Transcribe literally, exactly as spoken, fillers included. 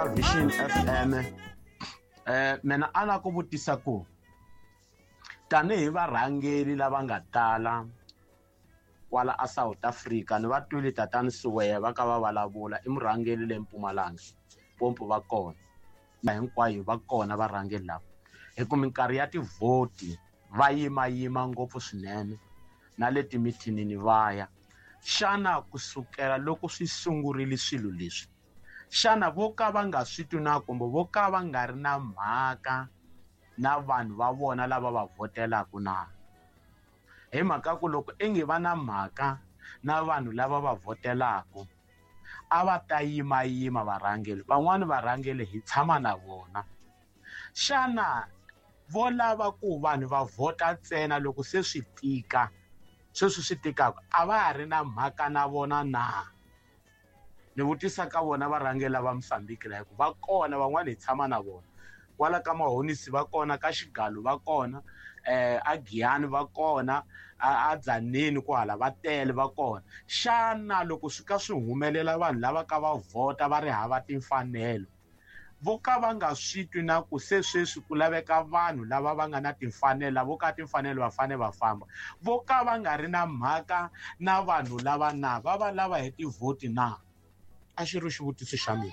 ka Vision F M. Eh mina a na ku vutisa ku tanihi varhangeri lava nga tala kwala a South Africa ni va twile tatani Siweya va ka va vulavula i murhangeri le Mpumalanga Pompo va kona hinkwayo va kona varhangeri lava hi ku minkarhi ya tivhoti va yimayima ngopfu swinene na le timithinini va ya. Xana kusukela loko swi sungurile swilo leswi xana vo ka va nga swi twi na kumbe vo ka va nga ri na mhaka na vanhu va vona lava va votelaka na? Hi mhaka ku loko ingi va na mhaka na vanhu lava va votelaka a va ta yimayima varhangeri van'wani varhangeri hi tshama na vona. Xana vo lava ku vanhu va vhota ntsena loko se swi tika sweswi swi tikaka a va ha ri na mhaka na vona na? Ni vutisa ka vona varhangeri lava Mozambique la hikuva va kona van'wani hi tshama na vona kwala ka Mahonisi va kona ka Xigalo va kona eh a Giyani va kona a Dzaneni kwala va tele va kona. Xana loko swi ka swi humelela vanhu lava ka va vhota va ri hava timfanelo vo ka va nga swi twi na ku se sweswi ku laveka vanhu lava va nga na timfanelo vo ka timfanelo va fanele va famba vo ka va nga ri na mhaka na vanhu lava na va va lava hi tivhoti na? A xi ri xivutiso xa mina.